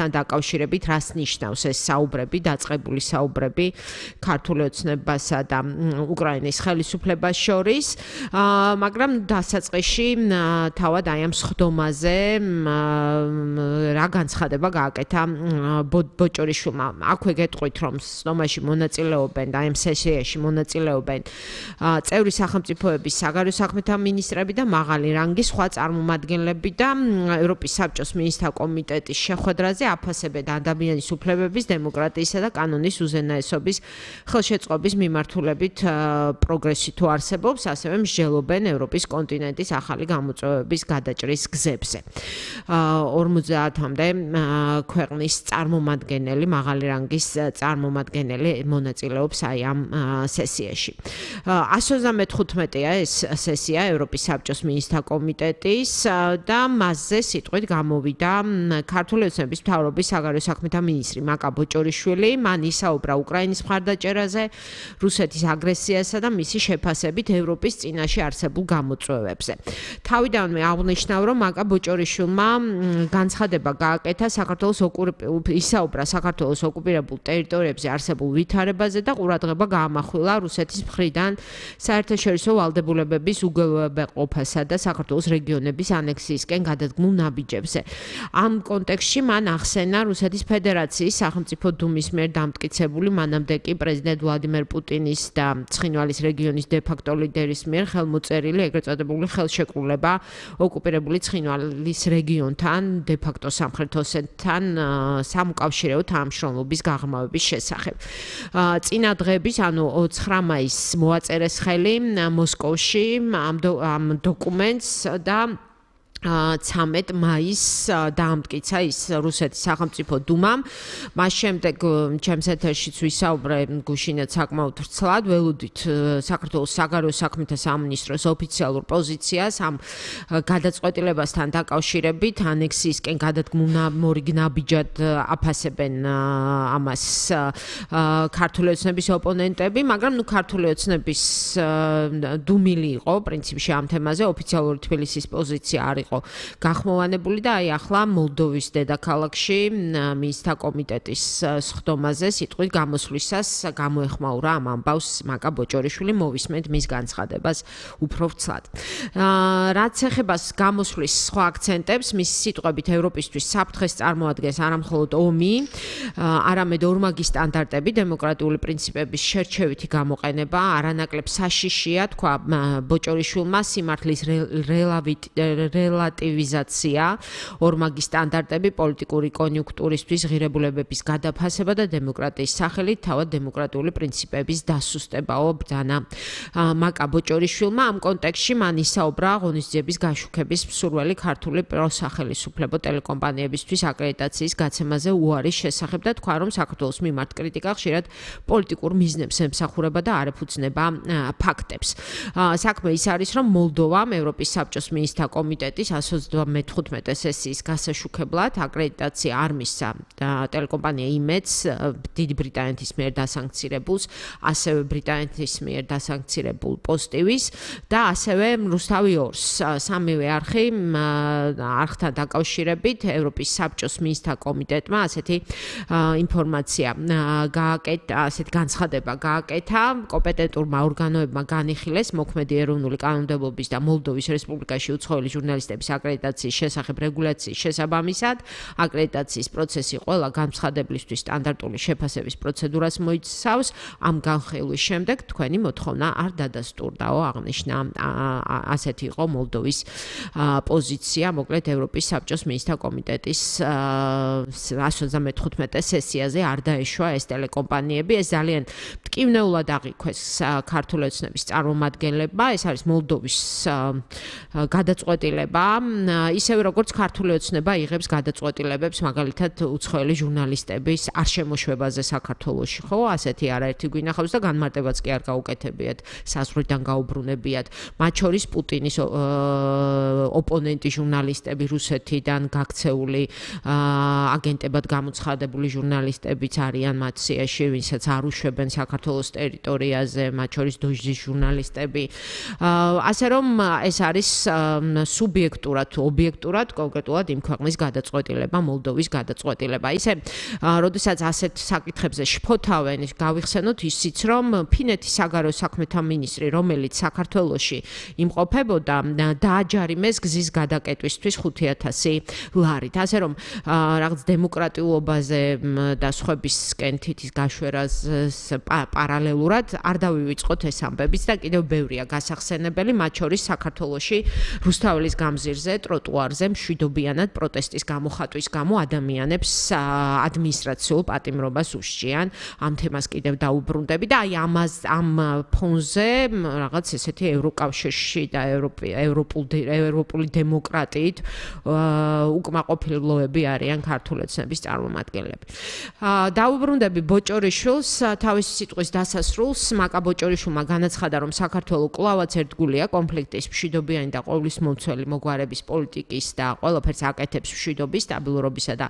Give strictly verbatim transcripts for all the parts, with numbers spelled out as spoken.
დაკავშირებით რას ნიშნავს ეს საუბრები, დაწყებული საუბრები ქართული ოცნებასა და უკრაინის ხელისუფლებას შორის, მაგრამ დასაწყისში თავად აი ამ სხდომაზე რა განცხადება გააკეთა ბოჭორიშვილმა. აქვე გეტყვით, რომ სხდომაში მონაწილეობენ და ამ სესიაში მონაწილეობენ წევრი სახელმწიფოების საგარეო საქმეთა მინისტრები და მაღალი რანგის სხვა წარმომადგენლები და ევროპის საბჭოს მინისტრთა კომიტეტის შეხვედრაზე აფასებენ ადამიანის უფლებების, დემოკრატიისა და კანონის უზენაესობის ხელშეწყობის მიმართულებით პროგრესი თუ არსებობს, ასევე მსჯელობენ ევროპის კონტინენტის ახალი გამოწვევების გადაჭრის გზებზე. ორმოცდაათამდე ქვეყნის წარმომადგენელი, მაღალი რანგის წარმომადგენელი მონაწილეობს აი ამ სესიაში. εκατόν ოცდამეხუთმეტეა ეს სესია ევროპის საბჭოს მინისტრთა კომიტეტის და მასზე სიტყვით გამოვიდა ქართული ოცნების მთავრობის საგარეო საქმეთა მინისტრი მაკა ბოჭორიშვილი. მან ისაუბრა უკრაინის მხარდაჭერაზე, რუსეთის აგრესიასა და მისი შეფასებით ევროპის წინაშე არსებულ გამოწვევებზე. თავიდანვე აღნიშნავ, რომ მაკა ბოჭორიშვილმა განცხადება გააკეთა საქართველოს ისაუბრა საქართველოს ოკუპირებულ ტერიტორიებზე არსებულ ვითარებაზე და ყურადღება გაამახვილა რუსეთის მხრიდან საერთაშორისო ვალდებულებების უგულებაყოფასა და საქართველოს რეგიონების ანექსიისკენ გადადგმულ ნაბიჯებზე. ამ კონტექსტში მან ახსენა რუსეთის ფედერაციის სახელმწიფო დუმის მიერ დამტკიცებული მანამდე კი პრეზიდენტ ვლადიმერ პუტინის და ცხინვალის რეგიონის დე-ფაქტო ლიდერის მიერ ხელმოწერილი ეგრეთ წოდებული ხელშეკრულება ოკუპირებული ცხინვალის რეგიონთან დე-ფაქტო სამხრეთ ოსეთთან სამუკავშირეო თანამშრომლობის გაღრმავების შესახებ. წინა დღეების, ანუ ცხრა მაისს მოაწერეს ხელი მოსკოვში ამ დოკუმენტს და ცამეტ მაისს დაამტკიცა ის რუსეთის სახელმწიფო დუმამ. მას შემდეგ ჩემს ეთერშიც ვისაუბრე გუშინაც საკმაოდ ვრცლად, ველოდით საქართველოს საგარეო საქმეთა სამინისტროს ოფიციალურ პოზიციას ამ გადაწყვეტილებასთან დაკავშირებით ანექსიისკენ გადადგმულ მორიგ ნაბიჯად აფასებენ ამას ქართული ოცნების ოპონენტები, მაგრამ ნუ ქართული ოცნების დუმილი იყო პრინციპში ამ თემაზე, ოფიციალური თბილისის პოზიცია არ იყო გახმოვანებული და აი ახლა მოლდოვის დედაქალაქში მინისტრთა კომიტეტის სხდომაზე სიტყვით გამოსვლისას გამოეხმაურა ამ ამბავს მაკა ბოჭორიშვილი. მოვისმენთ მის განცხადებას უფრო ვრცლად. რაც ეხება გამოსვლის სხვა აქცენტებს, მის სიტყვებით ევროპისთვის საფრთხეს წარმოადგენს არამხოლოდ ომი, არამედ ორმაგი სტანდარტები, დემოკრატიული პრინციპების შერჩევითი გამოყენება, არანაკლებ საშიშია, თქვა ბოჭორიშვილმა, სიმართლის რელატივიზაცია, ორმაგი სტანდარტები, პოლიტიკური კონიუნქტურისთვის ღირებულებების გადაფასება და დემოკრატიის სახელით თავად დემოკრატიული პრინციპების დასუსტებაო ბრძანა მაკა ბოჭორიშვილმა. ამ კონტექსტში მან ისაუბრა ღონისძიების გაშუქების მსურველი ქართული პროსახელისუფლებო ტელეკომპანიებისთვის აკრედიტაციის გაცემაზე უარის შესახებ და თქვა, რომ საქართველოს მიმართ კრიტიკა ხშირად პოლიტიკურ მიზნებს ემსახურება და არ ეფუძნება ფაქტებს. საქმე ის არის, რომ მოლდოვამ ევროპის საბჭოს მინისტრთა კომიტეტის εκατόν ოცდამეხუთმეტე სესიის გასაშუქებლად აკრედიტაცია არ მისცა ტელეკომპანია იმედს დიდი ბრიტანეთის მიერ დასანქცირებულს, ასევე ბრიტანეთის მიერ დასანქცირებულ პოზიტივის და ასევე რუსთავი ორს. სამივე არხი არხთან დაკავშირებით ევროპის საბჭოს მინისტრთა კომიტეტმა ასეთი ინფორმაცია გააკეთა, ასეთი განცხადება გააკეთა, კომპეტენტურმა ორგანოებმა განიხილეს მოქმედი ეროვნული კანონმდებლობის და მოლდოვის რესპუბლიკაში უცხოელი ჟურნალისტების აკრედიტაციის შესახებ რეგულაციის შესაბამისად, აკრედიტაციის პროცესი ყველა განცხადებლისთვის სტანდარტული შეფასების პროცედურას მოიცავს. ამ განხილვის შემდეგ თქვენი მოთხოვნა არ დადასტურდაო, აღნიშნა. ასეთი იყო მოლდოვის პოზიცია, მოკლედ ევროპის საბჭოს მინისტრთა კომიტეტის εκατόν ოცდამეხუთმეტე სესიაზე არ დაეშვა ეს ტელეკომპანიები. ეს ძალიან მტკივნეულად აღიქვეს ქართული ოცნების წარმომადგენლებმა. ეს არის მოლდოვის გადაწყვეტილება, ისევე როგორც ქართული ოცნება იღებს გადაწყვეტილებებს, მაგალითად უცხოელი ჟურნალისტების არ შემოშვებაზე საქართველოში, ხო? ასეთი არაერთი გვინახავს და განმარტებაც კი არ გაუკეთებიათ, საზღვრიდან გაუბრუნებიათ. მათ შორის პუტინის ოპონენტი ჟურნალისტები, რუსეთიდან გაქცეული აგენტებად გამოცხადებული ჟურნალისტებიც არიან მათ სიაში, ვინცაც არ უშვებენ საქართველოს ტერიტორიაზე, მათ შორის დოჟდის ჟურნალისტები. ასე რომ ეს არის სუბიექტური სუბიექტურად, ობიექტურად, კონკრეტულად იმ ქვეყნის გადაწყვეტილება, მოლდოვის გადაწყვეტილება. ისე, როდესაც ასეთ საკითხებზე შფოთავენ, გავიხსენოთ ისიც, რომ ფინეთის საგარეო საქმეთა მინისტრი, რომელიც საქართველოში იმყოფებოდა, დააჯარიმეს გზის გადაკეტვისთვის ხუთი ათასი ლარით. ასე რომ რაღაც დემოკრატიულობაზე და სხვებისკენ თითის გაშვერას პარალელურად არ დავივიწყოთ ეს ამბებიც და კიდევ ბევრია გასახსენებელი, მათ შორის საქართველოში რუსთაველის გამზირზე, ტროტუარზე მშვიდობიანად პროტესტის გამოხატვის გამო ადამიანებს ადმინისტრაციულ პატიმრობას უსჯიან. ამ თემას კიდევ დაუბრუნდები და აი ამას ამ ფონზე რაღაც ესეთი ევროკავშირში და ევროპული დემოკრატიით უკმაყოფილოები არიან ქართული ოცნების წარმომადგენლები. დაუბრუნდები ბოჭორიშვილს, თავისი სიტყვის დასასრულს, მაკა ბოჭორიშვილმა განაცხადა, რომ საქართველო კვლავაც ერთგულია კონფლიქტის, მშვიდობიანი და ყოვლისმომცველი მოგვარების პოლიტიკის და ყველაფერს აკეთებს მშვიდობის, სტაბილურობისა და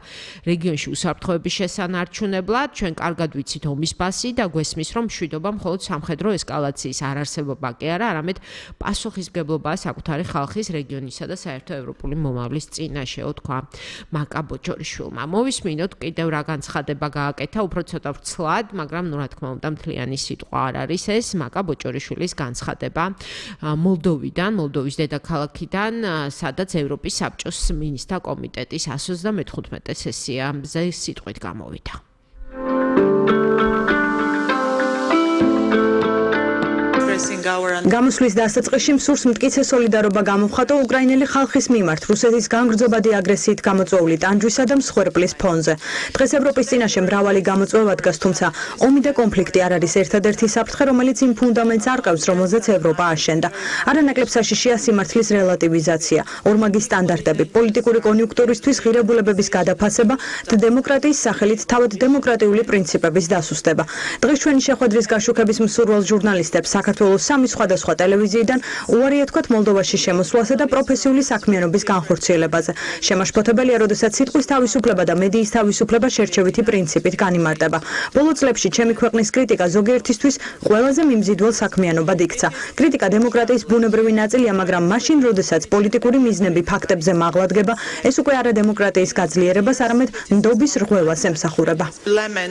რეგიონში უსაფრთხოების შესანარჩუნებლად. ჩვენ კარგად ვიცით ომის ფასი და გვესმის, რომ მშვიდობა მხოლოდ სამხედრო ესკალაციის არარსებობა კი არა, არამედ პასუხისმგებლობაა საკუთარი ხალხის, რეგიონისა და საერთო ევროპული მომავლის წინაშე, თქვა მაკა ბოჭორიშვილმა. მოვისმინოთ კიდევ რა განცხადება გააკეთა, უფრო ცოტა ვრცლად, მაგრამ ნუ რა თქმა უნდა მთლიანი სიტყვა არ არის ეს მაკა ბოჭორიშვილის განცხადება მოლდოვიდან, მოლდოვის დედაქალაქიდან, სადაც ევროპის საბჭოს მინისტრთა კომიტეტის εκατს ოცდამეხუთმეტე სესიაზე სიტყვით გამოვიდა. გამოსვლის დასაწყისში მსურს მტკიცე სოლიდარობა გამოვხატო უკრაინელი ხალხის მიმართ რუსეთის განგრძობადი აგრესიით გამოწვეული ტანჯვისა და მსხვერპლის ფონზე. დღეს ევროპის წინაშე მრავალი გამოწვევა დგას, თუმცა ომი და კონფლიქტი არ არის ერთადერთი საფრთხე, რომელიც იმ ფუნდამენტს არყევს, რომელზეც ევროპა აშენდა. არანაკლებ საშიშია სიმართლის რელატივიზაცია, ორმაგი სტანდარტები, პოლიტიკური კონიუნქტურისთვის ღირებულებების გადაფასება და დემოკრატიის სახელით თავად დემოკრატიული პრინციპების დასუსტება. დღეს ჩვენი შეხვედრის გაშუქების მსურველ ჟურნალისტებს საქართველოს სამი სხვადასხვა ტელევიზიიდან უარი ეთქვათ მოლდოვაში შემოსვლასა და პროფესიული საქმიანობის განხორციელებაზე. შემაშფოთებელია, როდესაც სიტყვის თავისუფლება და მედიის თავისუფლება შერჩევითი პრინციპით განიმარტება. ბოლო წლებში ჩემი ქვეყნის კრიტიკა ზოგიერთისთვის ყველაზე მიმზიდველ საქმიანობად იქცა. კრიტიკა დემოკრატიის ბუნებრივი ნაწილია, მაგრამ მაშინ, როდესაც პოლიტიკური მიზნები ფაქტებზე მაღლადგება, ეს უკვე არა დემოკრატიის გაძლიერებას, არამედ ნდობის რღვევას ემსახურება.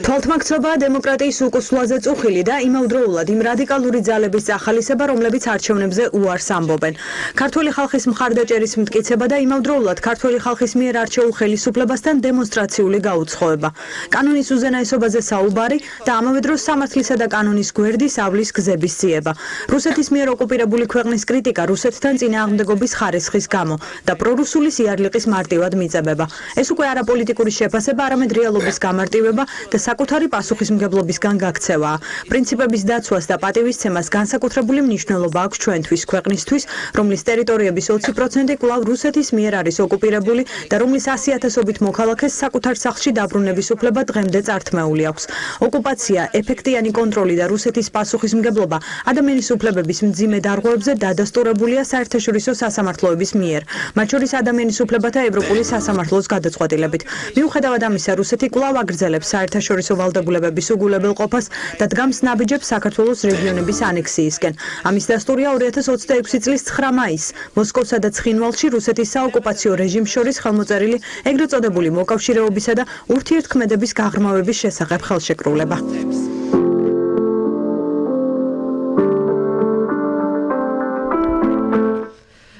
თვალთმაქცრობაა დემოკრატიის უკუსვლაზე წუხილი და იმავდროულად იმ რადიკალური ძალების ახალისება, რომლებიც არჩევნებზე უარს ამბობენ. ქართველი ხალხის მხარდაჭერის მტკიცება და იმავდროულად ქართველი ხალხის მიერ არჩეულ ხელისუფლებასთან დემონსტრაციული გაუცხოება. კანონის უზენაესობაზე საუბარი და ამავე დროს სამართლისა და კანონის გვერდის ავლის გზების ძიება. რუსეთის მიერ ოკუპირებული ქვეყნის კრიტიკა რუსეთთან წინააღმდეგობის ხარისხის გამო და პრორუსული სიარლიყის მარტივად მიწებება. ეს უკვე არა პოლიტიკური შეფასება, არამედ რეალობის გამარტივება და საკუთარი პასუხისმგებლობისგან გაქცევაა. პრინციპების დაცვას და პატივისცემას განსაკუთრებული მნიშვნელობა აქვს ჩვენთვის, ქვეყნისთვის, რომლის ტერიტორიების ოცი პროცენტი კვლავ რუსეთის მიერ არის ოკუპირებული და რომლის ასი ათასობით მოქალაქეს საკუთარ სახლში დაბრუნების უფლება დღემდე წართმეული აქვს. ოკუპაცია, ეფექტიანი კონტროლი და რუსეთის პასუხისმგებლობა ადამიანის უფლებების მძიმე დარღვევებზე დადასტურებულია საერთაშორისო სასამართლოების მიერ, მათ შორის ადამიანის უფლებათა ევროპული სასამართლოს გადაწყვეტილებით. მიუხედავად ამისა, რუსეთი კვლავ აგრძელებს საერთაშორისო ვალდებულებების უგულებელყოფას და დგამს ნაბიჯებს საქართველოს რეგიონების ანექსიისკენ. ამის დასტურია ორი ათას ოცდაექვსი წლის ცხრა მაისს მოსკოვსა და ცხინვალში რუსეთის საოკუპაციო რეჟიმს შორის ხელმოწერილი ეგრეთ წოდებული მოკავშირეობისა და ურთიერთქმედების გაღრმავების შესახებ ხელშეკრულება.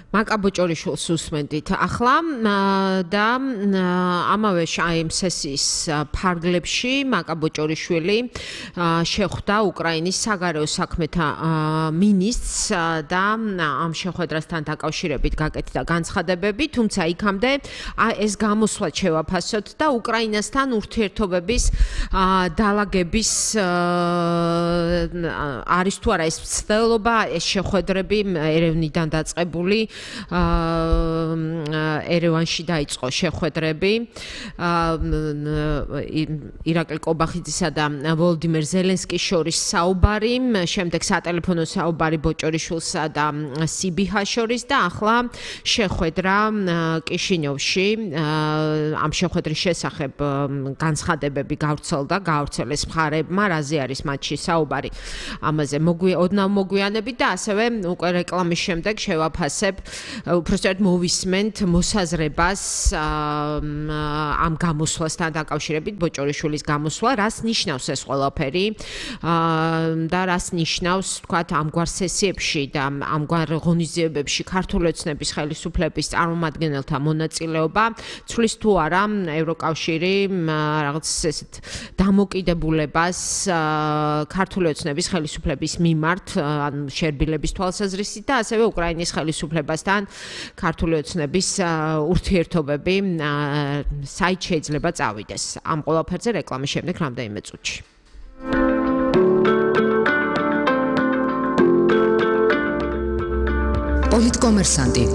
მაკა ბოჭორიშვილს უსმენდით ახლა და ამავე ამ სესიის ფარგლებში მაკა ბოჭორიშვილი შეხვდა უკრაინის საგარეო საქმეთა მინისტრს და ამ შეხვედრასთან დაკავშირებით გაკეთდა განცხადებები, თუმცა იქამდე ეს გამოსვლა შევაფასოთ და უკრაინასთან ურთიერთობების დალაგების არის თუ არა ეს მცდელობა, ეს შეხვედრები ერევნიდან დაწყებული ერევანში დაიწყო შეხვედრები ირაკლი კობახიძისა და ვოლოდიმერ ზელენსკის შორის საუბარი, შემდეგ სატელეფონო საუბარი ბოჭორიშვილსა და სიბიჰას შორის და ახლა შეხვედრა კიშინიოვში. ამ შეხვედრის შესახებ განცხადებები გავრცელდა, გავრცელეს მხარეებმა, რაზე არის მათში საუბარი. ამაზე ოდნავ მოგვიანებით და ასევე უკვე რეკლამის შემდეგ შევაფასებ უпростად მოვისმენთ მოსაზრებას ამ გამოსვლასთან დაკავშირებით, ბოჭორიშვილის გამოსვლა, რას ნიშნავს ეს ყველაფერი და რას ნიშნავს, თქვათ, ამგვარ სესიებში და ამგვარ ღონისძიებებში ქართული ოცნების ხელისუფლების წარმომადგენელთა მონაწილეობა ცვლის თუ არა ევროკავშირი რაღაც ესეთ დამოკიდებულებას ქართული ოცნების ხელისუფლების მიმართ, ან შერბილების თვალსაზრისით და ასევე უკრაინის ხელისუფლებასთან ქართული ოცნების ურთიერთობები საით შეიძლება წავიდეს. ამ ყველაფერზე რეკლამის შემდეგ რამდენიმე წუთში. პოლიტკომერსანტი.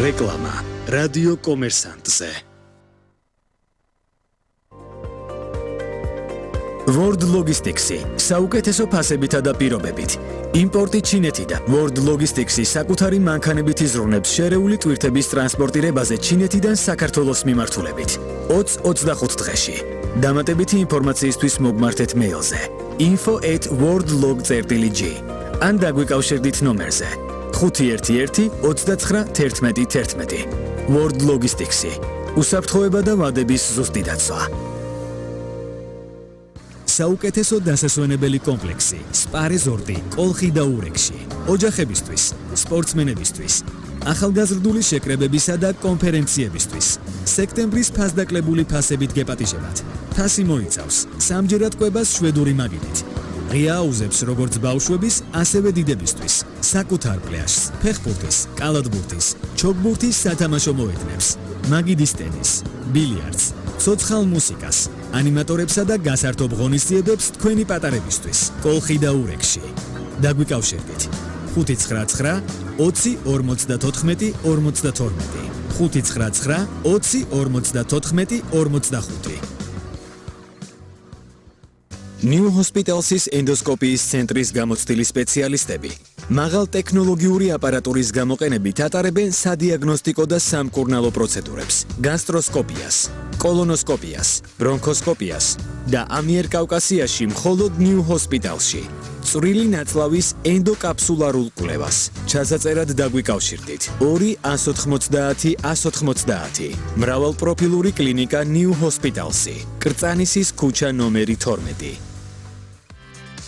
რეკლამა რადიო კომერსანტზე. World Logistics-ი საუკეთესო ფასებითა და პირობებით. იმპორტი ჩინეთიდან. World Logistics-ი საკუთარი მანქანებით იზრუნებს შერეული ტვირთების ტრანსპორტირებაზე ჩინეთიდან საქართველოს მიმართულებით. ოცი ოცდახუთ დღეში. დამატებითი ინფორმაციისთვის მოგმართეთ მეილზე info at worldlog წერტილი g ან დაგვიკავშირდით ნომერზე ხუთი ერთი ერთი ოცდაცხრა თერთმეტი თერთმეტი. World Logistics-ი უსაფრთხოება და ვადების ზუსტი დაცვა. საუკეთესო დასასვენებელი კომპლექსი სპა რეზორტი კოლხი და ურეკში. ოჯახებისთვის, სპორტსმენებისთვის, ახალგაზრდული შეკრებებისა და კონფერენციებისთვის. სექტემბრის ფასდაკლებული ფასებით გეპატიჟებათ. ფასი მოიცავს სამჯერად კვებას შვედური მაგიდით. ღია აუზებს როგორც ბავშვების, ასევე დიდებისთვის. საკუთარ პლაჟს, ფეხბურთის, კალათბურთის, ჩოგბურთის სათამაშო მოედნებს, მაგიდის ტენის, ბილიარდს, ცოცხალ მუსიკას, ანიმატორებსა და გასართობ ღონისძიებებს თქვენი პატარებისთვის. კოლხი და ურეკში. დაგვიკავშირდით ხუთი ცხრა ცხრა ოცი ორმოცდათოთხმეტი ორმოცდათორმეტი ხუთი ცხრა ცხრა ოცი ორმოცდათოთხმეტი ორმოცდახუთი. New Hospitals-ის ენდოსკოპიის ცენტრის გამოცდილი სპეციალისტები მაღალ ტექნოლოგიური აპარატურის გამოყენებით ატარებენ სადიაგნოსტიკო და სამკურნალო პროცედურებს, გასტროსკოპიას, კოლონოსკოპიას, ბრონქოსკოპიას და ამიერკავკასიაში მხოლოდ New Hospital-ში. წვრილი ნაწლავის ენდოკაფსულარულ კვლევას. ჩასაწერად დაგვიკავშირდით ორი ას ოთხმოცდაათი ას ოთხმოცდაათი. მრავალპროფილური კლინიკა New Hospitals-ი. კრწანისის ქუჩა ნომერი თორმეტი.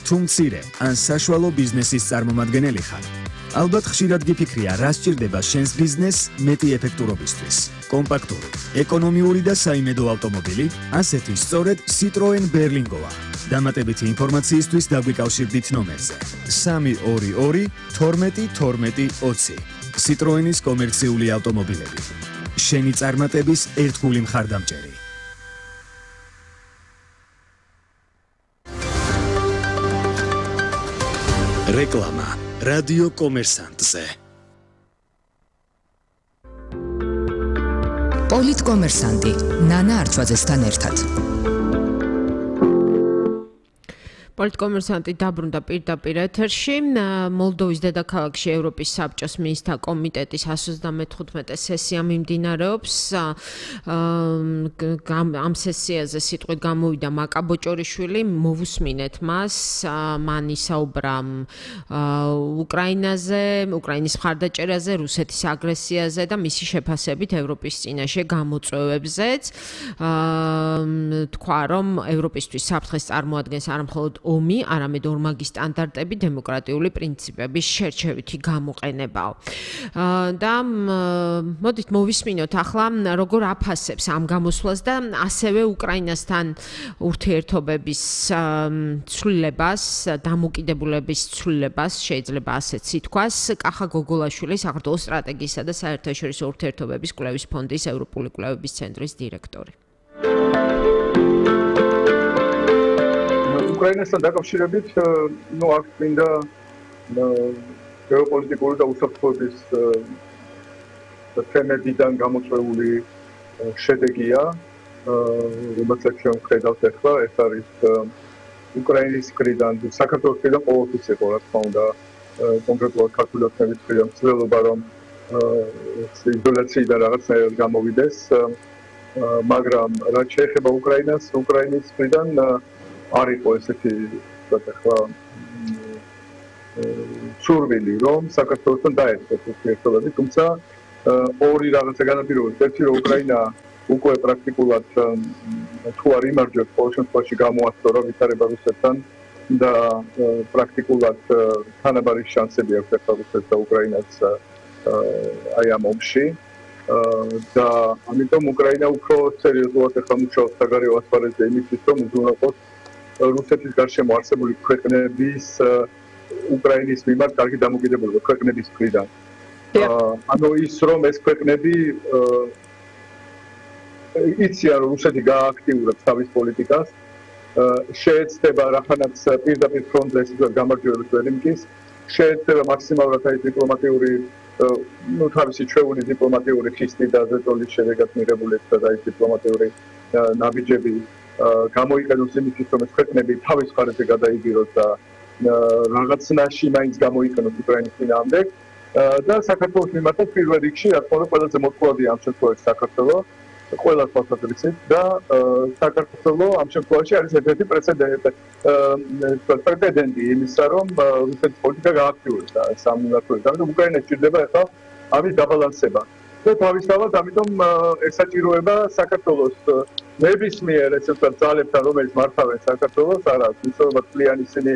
თუ მცირე ან საშუალო ბიზნესის წარმომადგენელი ხარ, ალბათ ხშირად გიფიქრია, რა სჭირდება შენს ბიზნესს მეტი ეფექტურობისთვის. კომპაქტური, ეკონომიური და საიმედო ავტომობილი, ასეთი სწორედ Citroen Berlingoა. დამატებითი ინფორმაციისთვის დაგვიკავშირდით ნომერზე სამი ორი ორი თორმეტი თორმეტი ოცი. Citroen-ის კომერციული ავტომობილები. შენი წარმატების ერთგული მხარდამჭერი. რეკლამა რადიო კომერსანტზე. პოლიტკომერსანტი ნანა არჩვაძესთან ერთად. პოლიტკომერსანტი დაბრუნდა პირდაპირ ეთერში. მოლდოვის დედაქალაქში ევროპის საბჭოს მინისტრთა კომიტეტის ას ოცდამეთხუთმეტე სესია მიმდინარეობს. ამ სესიაზე სიტყვით გამოვიდა მაკა ბოჭორიშვილი, მოვუსმინეთ მას. მან ისაუბრა უკრაინაზე, უკრაინის მხარდაჭერაზე, რუსეთის აგრესიაზე და მისი შეფასებით ევროპის წინაშე გამოწვევებზეც. თქვა, რომ ევროპისთვის საფრთხეს წარმოადგენს არა მხოლოდ ომი, არამედ ორმაგი სტანდარტები, დემოკრატიული პრინციპების შერჩევითი გამოყენებაო. და მოდით მოვისმინოთ ახლა როგორ აფასებს ამ გამოსვლას და ასევე უკრაინასთან ურთიერთობების ცვლილებას, დამოკიდებულების ცვლილებას, შეიძლება ასეც ითქვას, კახა გოგოლაშვილი, საქართველოს სტრატეგიისა და საერთაშორისო ურთიერთობების კვლევის ფონდის ევროპული კვლევების ცენტრის დირექტორი. უკრაინასთან დაკავშირებით, ნუ აქ მინდა გეოპოლიტიკური და უსაფრთხოების თემებიდან გამოწვეული შედეგია, რომელსაც ჩვენ ვხედავთ ახლა, ეს არის უკრაინის მხრიდან, საქართველოს მხრიდან ყოველთვის იყო, რა თქმა უნდა, კონკრეტულად ქართული ოცნების მხრიდან ცდილობა, რომ იზოლაციიდან რაღაცნაირად გამოვიდეს, მაგრამ რაც შეეხება უკრაინას, უკრაინის მხრიდან არ იყო ესეთი, ვთქვათ ახლა, სურვილი რომ საქართველოსთან დაერთოს ურთიერთობები, თუმცა ორი რაღაცა განაპირობებს. ერთი რომ უკრაინა უკვე პრაქტიკულად თუ არ იმარჯვებს ყოველ შემთხვევაში გამოასწორა ვითარება რუსეთთან და პრაქტიკულად თანაბარი შანსები აქვს ახლა რუსეთს და უკრაინას აი ამ ომში და ამიტომ უკრაინა უფრო სერიოზულად ახლა მუშაობს საგარეო ასპარეზზე იმისთვის რომ უზრუნველყოს რუსეთის გარშემო არსებული ქვეყნების უკრაინის მიმართ კარგი დამოკიდებულება ქვეყნების მხრიდან. ანუ ის რომ ეს ქვეყნები იციან რომ რუსეთი გააქტიურებს თავის პოლიტიკას შეეცდება რახანაც პირდაპირ ფრონტზე სიტუაციას გამარჯვებას ვერ იმკის შეეცდება მაქსიმალურად აი დიპლომატიური ну თავისი ჩვეული დიპლომატიური ხისტი და ზეწოლის შედეგად მიღებული და აი დიპლომატიური ნაბიჯები გამოიყენოს იმისთვის რომ ეს ქვეყნები თავის მხარეზე გადაიგიროს და რაღაცნაირად მაინც გამოიყენოს უკრაინის წინააღმდეგ და საქართველოს მიმართაც პირველ რიგში რა თქმა უნდა ყველაზე მოწყვლადია ამ შემთხვევაში საქართველოს ყველა თვალსაზრისით და საქართველოს ამ შემთხვევაში არის ერთ-ერთი პრეცედენტი პრეცედენტი იმისა რომ რუსეთის პოლიტიკა გააქტიურებს და სამმართველოს ამიტომ უკრაინას ჭირდება ახლა ამის დაბალანსება და თავისთავად ამიტომ ესაჭიროება საქართველოს ნებისმიერ ესე ვთქვათ ძალებთან რომელიც მართავენ საქართველოს არა ისევ წლიანი ისინი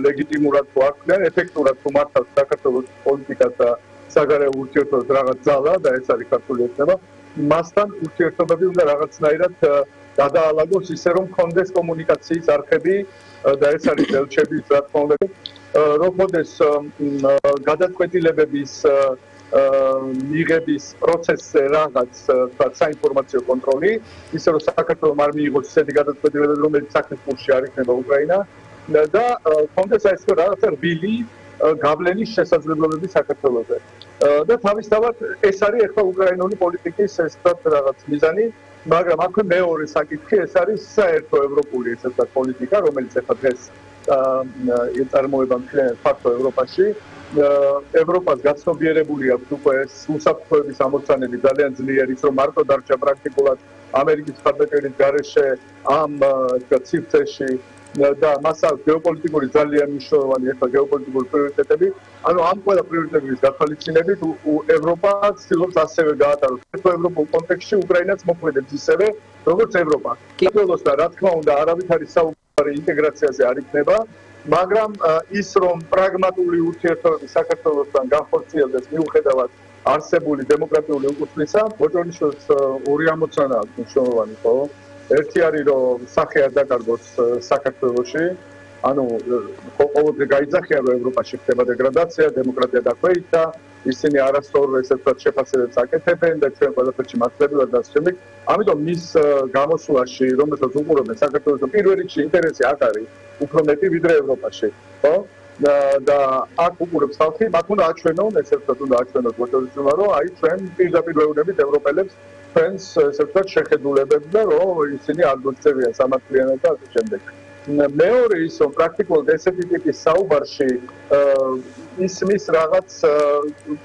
ლეგიტიმურად თუ არ ხდნენ ეფექტურად თუ მართავს საქართველოს პოლიტიკას და საგარეო ურთიერთობებს რაღაც ძალა და ეს არის ქართული ეთნება მასთან ურთიერთობები უნდა რაღაცნაირად გადაალაგოს ისე რომ კონდეს კომუნიკაციის არხები და ეს არის ელჩების რა თქმა უნდა რომ მოდეს გადაწყვეტილებების მიღების პროცესზე რაღაც საინფორმაციო კონტროლი ისე რომ საქართველოს არ მიიღოს ისეთი გადაწყვეტილებები რომელიც საქმის კურსში არ იქნება უკრაინა და კონდეს ეს რაღაცა რბილი გავლენის შესაძლებლობები საქართველოსზე და თავისთავად ეს არის ახლა უკრაინული პოლიტიკის ეს რაღაც მიზანი მაგრამ აქვე მეორე საკითხი ეს არის საერთო ევროპული ესე ვთქვათ პოლიტიკა რომელიც ახლა დღეს ეწარმოება მთლიან ფაქტო ევროპაში ევროპას გაცნობიერებული აქვს უკვე უსაფრთხოების ამოცანები ძალიან ძლიერი ის რომ მარტო დარჩა პრაქტიკულად ამერიკის მხარდაჭერის გარეშე ამ ვთქვათ სივრცეში და მასა გეოპოლიტიკური ძალიან მნიშვნელოვანი ახლა გეოპოლიტიკური პრიორიტეტები ანუ ამ ყველა პრიორიტეტების გათვალისწინებით ევროპა ცდილობს ასევე გაატაროს ევროპულ კონტექსტში უკრაინას მოქმედებს ისევე როგორც ევროპა საქართველოს და რა თქმა უნდა არავითარი საუბარი ინტეგრაციაზე არ იქნება მაგრამ ის რომ პრაგმატული ურთიერთობები საქართველოსთან განხორციელდეს მიუხედავად არსებული დემოკრატიული უკუსლისა ბოჭორიშვილს ორი ამოცანა აქვს მნიშვნელოვანი ხო ერთი არის რომ სახე არ დაკარგოს საქართველოში ანუ ყოველდღე გაიძახიან რომ ევროპაში ხდება დეგრადაცია დემოკრატია დაქვეითდა ისინი არასწორ ესე ვთქვათ შეფასებებს აკეთებენ და ჩვენ ყველაფერში მართლებულად და შემდეგ ამიტომ მის გამოსვლაში რომელსაც უყურებენ საქართველოს პირველ რიგში ინტერესი აქ არის უფრო მეტი ვიდრე ევროპაში ხო და აქ უყურებს ხალხი მათ უნდა აჩვენონ ესე ვთქვათ უნდა აჩვენოს ბოჭორიშვილმა რომ აი ჩვენ პირდაპირ ვეუბნებით ევროპელებს friends ესე ვთქვათ შეხედულებებს და რომ ისინი არ გოწევიან სამართლიანად და ასე შემდეგ. მეორე ის რომ პრაქტიკულად ესეთი ტიპის საუბარში ისმის რაღაც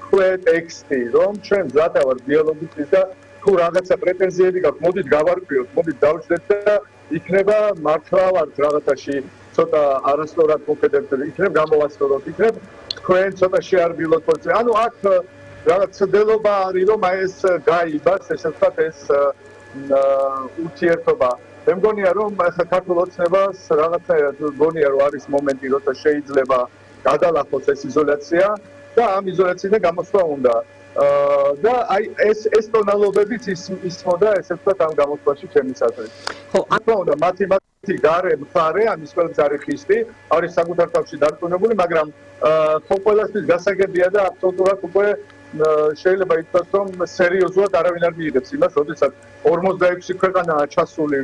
ქვე ტექსტი რომ ჩვენ მზად ვართ დიალოგისთვის და თუ რაღაცა პრეტენზიები გაქვთ მოდით გავარკვიოთ მოდით დავждეთ და იქნება მართლა ვართ რაღაცაში ცოტა არასწორად მოქმედებით იქნებ გამოვასწოროთ იქნებ თქვენ ცოტა შეარბილოთ პოზიცია ანუ აქ რაღაც ცდილობა არის რომ აი ეს გაიბას ესე ვთქვათ ეს ურთიერთობა მე მგონია რომ ახლა ქართულ ოცნებას რაღაცნაირად მგონია რომ არის მომენტი როცა შეიძლება გადალახოს ეს იზოლაცია და ამ იზოლაციიდან გამოსვლა უნდა და აი ეს ეს ტონალობებიც ის ისმოდა ესე ვთქვათ ამ გამოსვლაში ჩემის აზრით ხო ანუ უნდა მათემატიკი გარე მხარე ამის ყველგან არის ხისტი არის საკუთარ თავში დარწმუნებული მაგრამ ხო ყველასთვის გასაგებია და აბსოლუტურად უკვე შეიძლება ითქვას რომ სერიოზულად არავინ არ მიიღებს იმას, როდესაც ორმოცდაექვსი ქვეყანაა ჩასული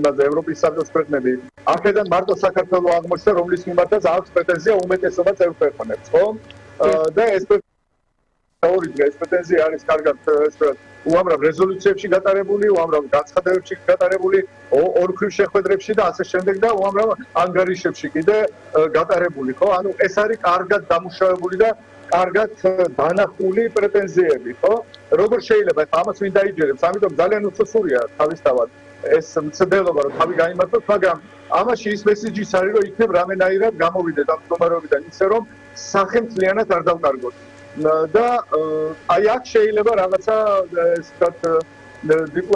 იმაზე ევროპის საბჭოს ქვეყნები. აქედან მარტო საქართველოს აღმოჩნდა, რომლის მიმართაც აქვს პრეტენზია უმეტესობა წევრ ქვეყნებს, ხო? და ეს ორი დღე ეს პრეტენზია არის კარგად ესე უამრავ რეზოლუციებში გატარებული, უამრავ განცხადებებში გატარებული, ორქრივ შეხვედრებში და ასე შემდეგ და უამრავ ანგარიშებში კიდე გატარებული, ხო? ანუ ეს არის კარგად დამუშავებული და კარგად დანახული პრეტენზიები, ხო? როგორ შეიძლება ამას ვინ დაიჯერებს? ამიტომ ძალიან უცოცხლია თავისთავად ეს მცდელობა რომ თავი გაიმართოს, მაგრამ ამაში ის მესიჯიც არის რომ იქნებ რამენაირად გამოვიდეთ ამ მდგომარეობიდან ისე რომ სახელმწლიანად არ დავკარგოთ. და აი აქ შეიძლება რაღაცა ეს ვთქვათ